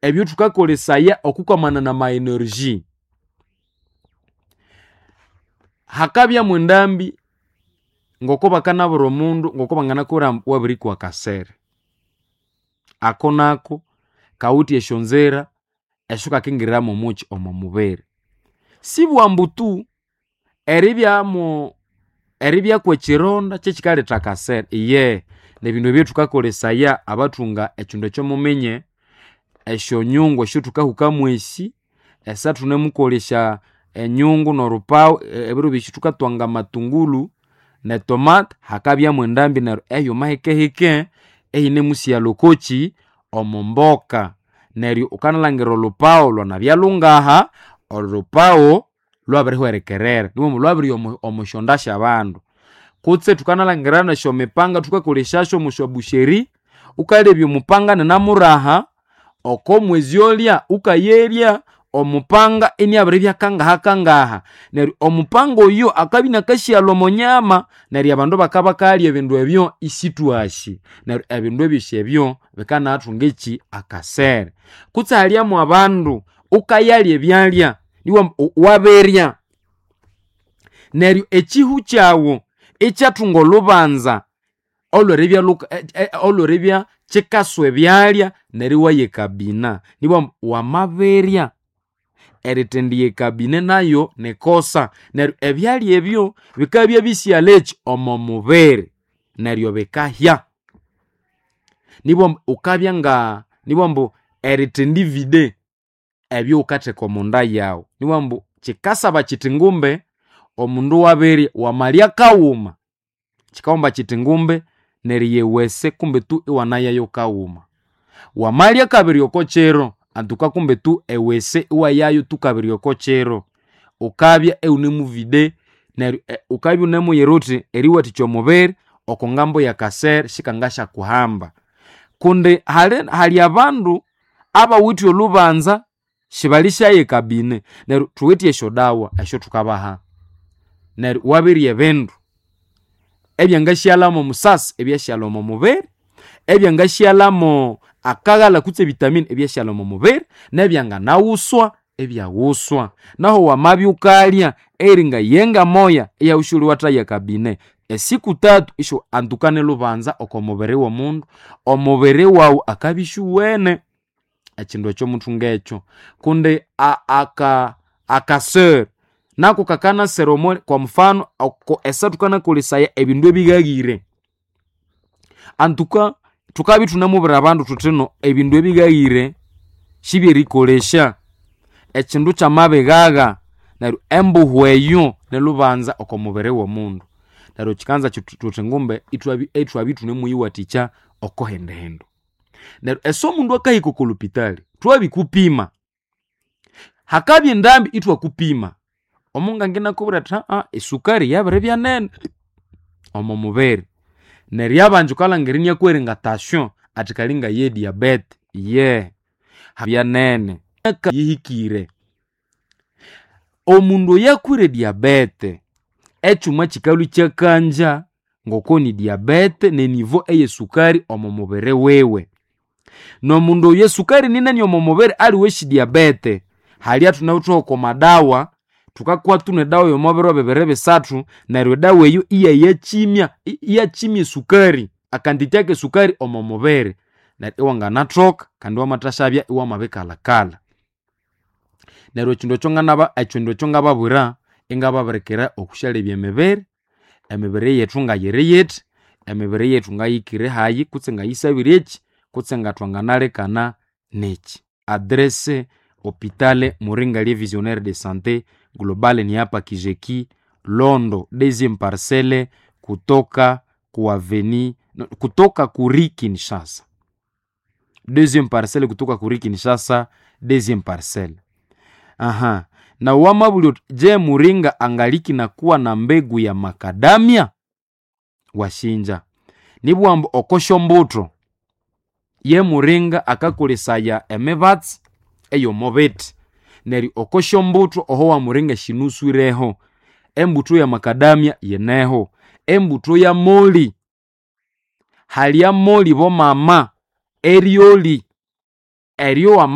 Ebyo thukakolesaya okukwamana na energy. Hakabya mwendambi ngoko bakanabura omundu ngoko banganakubwira ambu wabirikwa kasere. Ako nako kawithe esyonzira esyukakingiriramu omuki omo mubiri. Sibwambu tu eribyamu eribya kwekironda kyekikaletha kasere, iyehe nebindu ebyathukakolesaya abathunga ekindu ekyo muminye, esyonyungu esyathukahukamu esi, esathunemukolesya enyungu norupawu, ebiro byosi thukatwanga amatungulu netomate, hakabya mwendambi neryo eyuma hikehike eyinemusighalha okoki omomboka. Neryo wukanalhangira olhupawu lwanabya lungaha, olhupawu lwabirihwerekerera niwambu lwabirigha omosyonda syabandu. Kutse thukanalhangira nesyomipanga thukakolesyasyo omosyabusheri, wukalebya omupanga ininamuraha, oko mwezi olya wukayerya omupanga iniabiribya kangahakangaha. Neryo omupanga oyo akabya inakasighalha omonyama, neryo abandu bakabakayalya ebindu ebyo isithwasi. Neryo ebindu ebyosi ebyo bikanathunga eki akasere. Kutse halyamu abandu wukayalya ebyalya niwambu wabirya, neryo ekihu kyawu ikyathunga olhubanza olweribya luka olweribya kikaswa ebyalya neryo iwaya ekabina. Nibwambu wamabirya, erithendiya ekabine nayo nikosa. Neryo ebyalya ebyo bikabya bisighalha eki omo mubiri neryo bikahya. Nibwambu wukabya nga nibwambu erithendivide ebyowukatheka omonda yawu. Nibwambu kikasaba kithi ngumbe omundu wabirya, wamalya kawuma, kikawomba kithi ngumbe neriya ewese kumbe tu iwanayayo kawuma. Wamalya kabiri oko kiro, antuka kumbe tu ewese iwayayo tu kabiri oko kiro. Wukabya iwunemuvide neryo wukabya iwunemuyira wuthi eriwathikya omubiri oko ngambo yakasere sikangasyakuhamba. Kundi hali hali abandu abawithe olhubanza sibalisyaya ekabine neryo thuwithe esyodawa esyathukabaha. Neryo wabirya ebindu ebyangasighalhamu omusasi ebyasighalha omo mubiri, ebyangasighalhamu akaghalha kutse evitamini ebyasighalha omo mubiri, nebyanganawuswa ebyaghuswa. Nahu wamabya wukalya eringa yenga moya iyawusyoli wathaya ekabine, esiku tatu isyo antuka nilhubanza oko mubiri womundu, omubiri wawu akabya isyuwene. Ekindu ekyo muthunga ekyo. Kundi akasere nako kakanasera omo kwa mfano oko esyathukanakolesaya ebindu ebighahire. Antuka thukabya ithunamubwira abandu thuthino ebindu ebighahire sibyerikolesya. Ekindu kyamabighagha neryo embuhu eyo nilhubanza oko mubiri womundu. Neryo kikanza thuthi ngumbe ithwabya ithunemuyiwathikya oko hindi hindu. Neryo ese omundu akahika oko lhupitali, thwabikupima, hakabya endambi ithwakupima, omunganga inakubwira athi esukari yabiribya nene omo mubiri. Neryo abandi wukalhangira iniakuhera nga tasyo athi kali ngaye diabete, iyehe byanene yihikire. Omundu oyakwire diabete, ekyuma kikalhwa ikyakanja ngoko ni diabete nenivo eyesukari omo mubiri wiwe. Nomundu oyo esukari ninene omo mubiri aliwe esyi diabete, halya thunawithe oko madawa, thukakwa thunwa edawa yomo biro bibiri bisathu, neryo edawa eyo iyayakimya iyakimya esukari, akanditya kesukari omo mubiri. Neryo iwanganathoka kandi iwamathasyabya iwamabikalhakalha. Neryo ekindu ekyo nganaba ekindu ekyo ngababwira, ingababirikira okwisyalebya emibiri, emibiri yethu ngayiri yithi, emibiri yethu ngayikere hayi kutse ngayisabire eki, kutse ngathwanganalekana neki. Adresse hopitale Muringa Visionnaire de Sante Globale ni hapa Kijeki Londo deuxième parcelle kutoka ku aveni no, kutoka kuri Kinshasa. Deuxième parcelle kutoka kuri Kinshasa, deuxième parcelle. Aha. Na wamabulyo je, Muringa angaliki na kuwa na mbegu ya makadamia? Washinja. Nibwambu okosho mbuto ye muringa akakolesaya emibatsi eyomobithi. Neryo okosyo mbutho oho wa muringa shinuswireho. Embutho ya makadamia yineho. Embutho ya moli, halya moli bomama eryoli eryo.